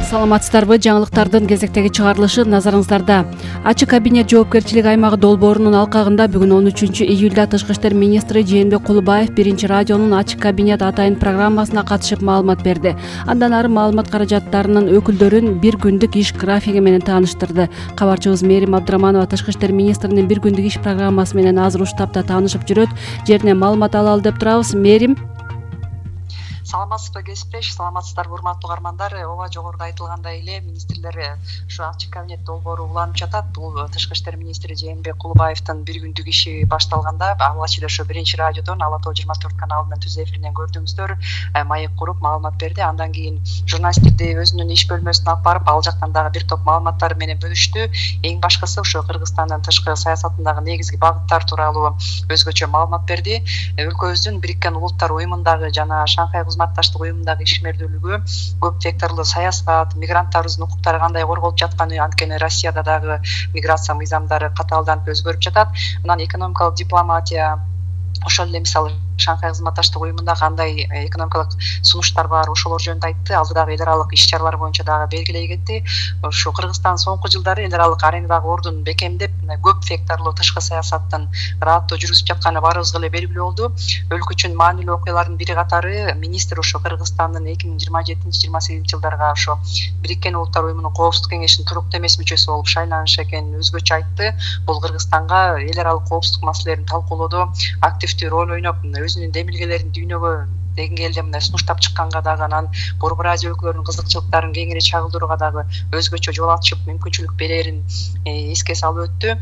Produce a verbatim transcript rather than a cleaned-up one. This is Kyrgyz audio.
Саламатсыздарбы? Жаңылыктардын кезектеги чыгарылышы назарыңыздарда. Ачык кабинет жоопкерчилик аймагы долбоорунун алкагында бүгүн он үчүнчү июлда Тышкы иштер министри Жээнбек Кулубаев биринчи радионун Ачык кабинет атайын программасына катышып маалымат берди. Андан ары маалымат каражаттарынын өкүлдөрүн бир күндүк иш графиги менен тааныштырды. Кабарчыбыз Мээрим Абдыраманова Тышкы иштер министринин бир күндүк иш программасы менен азыр уштапта таанышып жүрөт. Жерине маалымат алалы деп турабыз. Мээрим. Саламатсызбы кесиптеш, саламатсыздарбы урматтуу угармандар. Ооба, жогоруда айтылгандай эле министрлер ушу ачык кабинет долбоору уланып жатат. Бул Тышкы иштер министри Жээнбек Кулубаевдин бир күндүк иши башталганда алгач эле ошо биринчи радиодон Ала тоо жыйырма төрт каналынын түз эфиринен көрдүңүздөр, маек куруп маалымат берди. Андан кийин журналисттерди өзүнүн иш бөлмөсүнө алып барып, ал жактан дагы бир топ маалыматтар менен бөлүштү. Эң башкысы ошо Кыргызстандын тышкы саясатындагы негизги багыттар тууралуу өзгөчө маалымат берди. Өлкөбүздүн Бириккен Улуттар уюмундагы жана Шанхай кызматташтык уюмундагы ишмердүүлүгү, көп векторлуу саясат, мигранттарыбыздын укуктары кандай корголуп жатканы, анткени Россияда дагы миграция мыйзамдары катаалданып өзгөрүп жатат. Анан экономикалык дипломатия, ошол эле мисалы Шанхай кызматташтык уюмунда кандай экономикалык сунуштар бар, ошолор жөнүндө айтты. Ал дагы эл аралык иш чаралар боюнча дагы белгилей кетти. Ошо Кыргызстан соңку жылдары эл аралык аренадагы ордун бекемдеп, көп векторлуу тышкы саясаттын ырааттуу жүргүзүп жатканы баарыбызга эле белгилүү болду. Өлкө үчүн маанилүү окуялардын бири катары министр ошо Кыргызстандын эки миң жыйырма жетинчи жыйырма сегизинчи жылдарга ошо Бириккен Улуттар уюмунун коопсуздук кеңешинин туруктуу эмес мүчөсү болуп шайланышы экенин өзгөчө айтты. Бул Кыргызстанга эл аралык коопсуздук маселелерин талкуулоодо активдүү роль ойноп, өзүнүн демилгелерин дүйнөгө деңгээлде мындай сунуштап чыкканга дагы, анан Борбор Азия өлкөлөрүнүн кызыкчылыктарын кеңири чагылдырууга дагы өзгөчө жол ачып мүмкүнчүлүк берерин эске салып өттү.